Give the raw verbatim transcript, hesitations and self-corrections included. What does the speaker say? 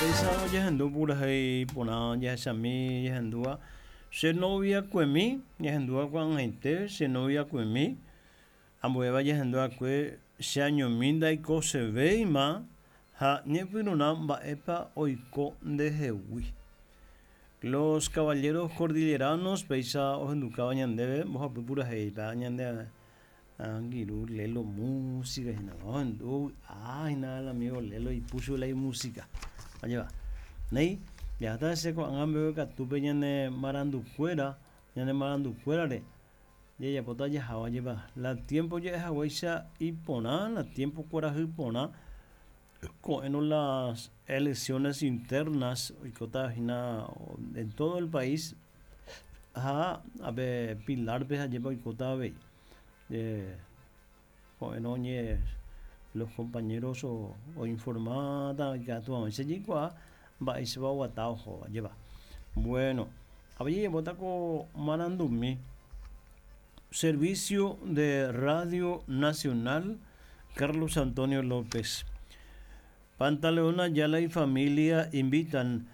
Péicha ojehendu purahéi porã jahechami jahendúva Che noviakuemi jahendúva ko'ag̃aite che noviakuemi ambuéva jahendu'akue che añomi ndaikosevéima ha ñepyrũrã mba'épa oiko ndehegui. Los Caballeros Cordilleranos péicha ohendukáva ñandéve mbohapy purahéipa ñande angirũ Lelo Música hína ohendu vy'ahína el amigo Lelo ipucho la imúsica ajépa néi jaháta hese ko'ág̃a mbeguekatúpe ñane marandukuéra ñane marandukuérare jajapóta jaháva ajépa la tiempo ja'ehaguéicha iporã la tiempo kuarahy porã ko'ẽrõ las elecciones internas oikóta hína en todo el país ha ápe Pilar-pe ajépa oikóta avei ko'ẽrõ oñe los compañeros oinformáta ikatu hag̃uáicha jaikuaa mba'éichapa oguata ohóva ajépa. Bueno, avei jajapóta ko marandumi Servicio de Radio Nacional Carlos Antonio López. Pantaleón Ayala y familia invitan